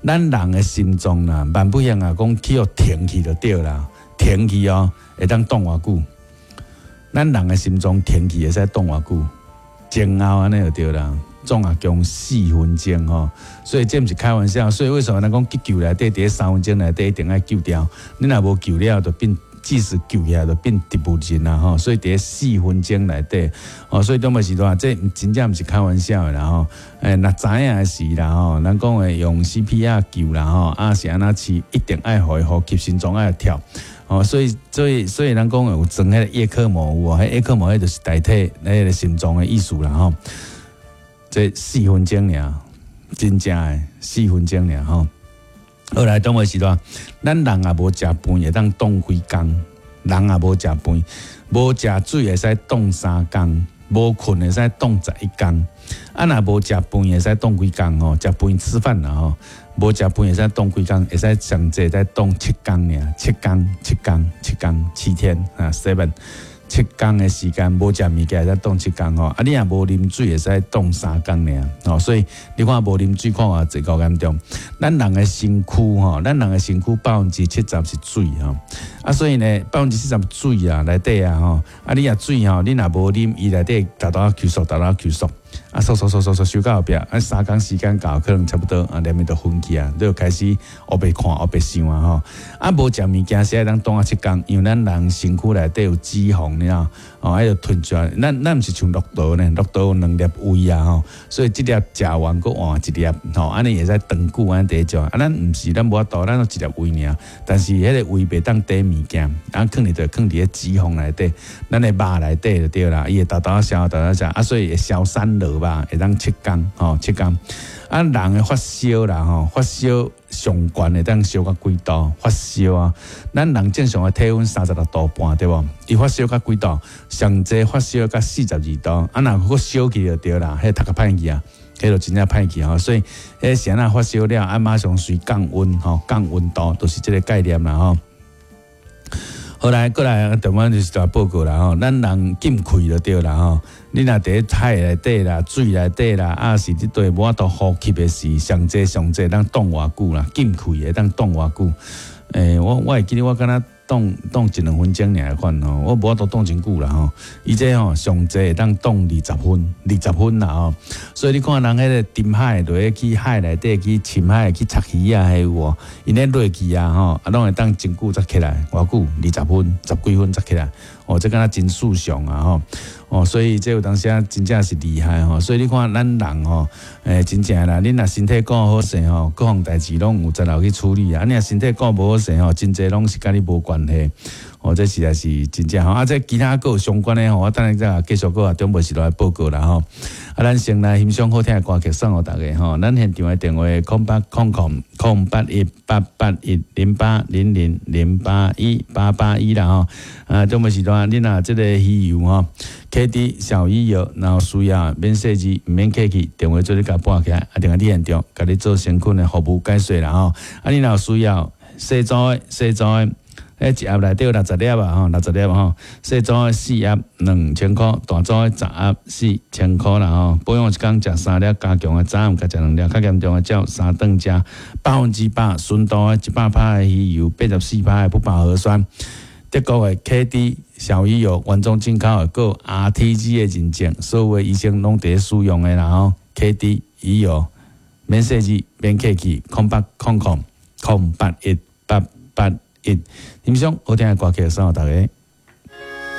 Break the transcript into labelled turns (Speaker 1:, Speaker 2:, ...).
Speaker 1: 咱人的心臟啦，萬不幸啊，講去予停去就對啦，停去哦，會當擋偌久？咱人的心臟停去會使擋偌久？前後按呢就對啦，總啊共4分鐘吼，所以這毋是開玩笑。所以為什麼咱講急救內底，佇3分鐘內底一定愛救掉？你若無救了，就變即使救起來就變植物人啦吼。所以佇四分鐘內底，哦，所以當時時這真正毋是開玩笑的啦吼。若知影的時啦吼，咱講的用 CPR 救啦吼，啊是按怎飼，一定愛予伊呼吸，心臟愛跳。哦，所以咱講有裝彼個葉克膜有無？彼葉克膜彼就是代替彼個心臟的意思啦吼。這四分鐘爾，真正的四分鐘爾吼。後來當時時咱人也無食飯，會當擋幾工；人也無食飯，無食水會使擋3工，無睏會使擋11工。啊，若無食飯會使擋幾工吼？食飯吃飯啦吼，無食飯會使擋幾工？會使上濟才擋7工爾，七工、七工、七工、7天啊，seven。7工的時間無食物件會使擋七工吼，啊你若無啉水會使擋3工爾吼，所以你看無啉水看偌濟夠嚴重。咱人的身軀吼，咱人的身軀70%是水吼，啊所以呢70%水啊內底啊吼，啊你若水吼，你若無啉，伊內底沓沓吸收，沓沓吸收，啊收收收收收收到後壁，啊3工時間到可能差不多啊，連面就昏去啊，你就開始烏白看烏白想啊吼，啊無食物件是會當擋啊七工，因為咱人身軀內底有脂肪。你知哦，愛著吞出來。咱毋是像駱駝呢，駱駝有兩粒胃啊吼，所以這粒食完閣換一粒吼，按呢會使長久按呢佇食。啊，咱毋是，咱無法度，咱攏一粒胃爾。但是彼個胃袂當貯物件，啊，囥佇就囥佇咧脂肪內底，咱的肉內底就對啦。伊會沓沓消，沓沓食，啊，所以會消瘦落吧，會當七工吼，七工。啊，人的發燒啦吼，發燒上懸會當燒到幾度？發燒啊，咱人正常的體溫36度半對無？伊發燒到幾度？上濟發燒到42度，啊，若閣燒去就對啦，彼讀較歹去啊，彼就真正歹去吼。所以，彼是按怎發燒了，啊，馬上隨降溫吼，降溫度，就是這個概念啦吼。後來過來，台灣就是大報告啦吼，咱人禁氣就對啦吼。你若佇海內底啦、水內底啦，啊是佇對無法度呼吸的時，上濟上濟當擋偌久啦，禁氣會當擋偌久？我會記得我敢若擋擋一兩分鐘爾款吼，我無法度擋真久啦吼。伊這吼上濟會當擋20分，20分啦吼。所以你看人彼個沉海落去海內底去深海去插魚啊，彼有無？𪜶咧落去啊吼，啊攏會當真久才起來，偌久？20分，十幾分才起來。哦，這敢若真翳常啊吼！哦，所以這有當時啊，真正是厲害吼。所以你看咱人吼，真正啦，你若身體顧好勢吼，各項代誌攏有才力去處理啊。你若身體顧無好勢吼，真濟攏是佮你無關係。哦，這實在是真正吼。啊，這其他閣有相關的吼，我等下再繼續閣中晡時來報告啦吼。啊，咱先來欣賞好聽的歌曲送予大家吼。咱現場的電話0800 008 1 8 8 1 0 8 0 0 0 8 1 8 8 1啦吼。啊，中晡時段你若這個魚油吼，KD 小魚油，然後需要免細緻，毋免客氣，電話做你共撥起來，啊，定來佇現場，共你做誠懇的服務解說啦吼。啊，你若有需要細組的，細組的。彼一盒內底有60粒啊吼，60粒吼，細組的四盒2000箍，大組的10盒4000箍啦吼。保養一工食三粒，加強的早暗各食兩粒，較嚴重的照三頓食。100%純度的100%的魚油，84%的不飽和酸。德國的 KD 小魚油原裝進口的，閣有 RTG 的認證，所有的醫生攏佇咧使用的啦吼。KD 魚油免細緻，免客氣，0800 081 881。欣賞好聽的歌曲送予大家。